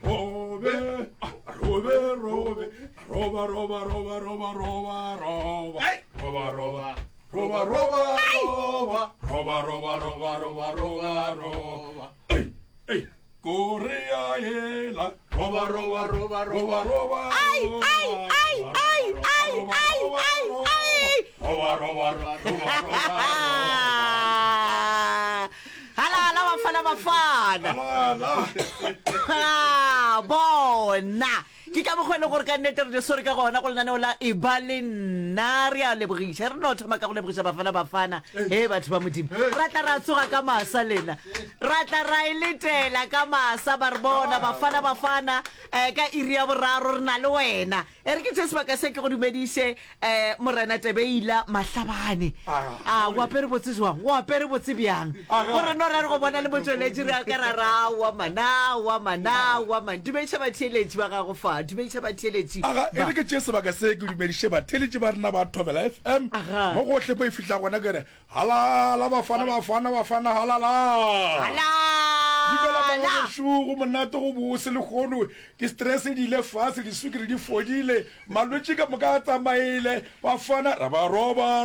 Roba, robe, robe, robe, roba, roba, roba, roba, roba, roba, roba, roba, roba, roba, roba, roba, roba, roba, roba, roba, roba. Ei, ei, Korea ela, roba, roba, roba, roba, roba, Ai, ai, ai, ai, ai, ai, ai, ai. roba, roba, roba, roba, roba. Halala bafana bafana. Halala. Ah, bona ke ka mokgwa e leng gore ka nnete re di swere ka gona go lenaneo la e ba le nna re a lebogiša re no thoma ka go lebogiša bafana bafana he batho ba modimo ra tla ra tsoga ka masa lena ra tla ra e letela ka masa ba re bona bafana bafana um ka iri ya boraro re na le wena E re ke tšee sebaka se ke go dumediše, eh, Morena Tebeila Mahlabane. A, o apere botse jwang? O apere botse bjang? Gore no ra re go bona le motšweletši re a ka ra ra aowa man, aowa man, aowa man. Dumediša batheeletši ba gago fa, dumediša batheeletši Aga, e ba. re ke tšee sebaka se ke dumediše batheeletši ba rena ba Thobela FM Aga. mo gohle mo e fihla gona ke re Halala bafana bafana bafana halala. Dumela Halala! magagešo go monate go bose lehono di stress di ile fase diswikiri di fodile malwetši ka moka a tsamaile bafana ra ba roba.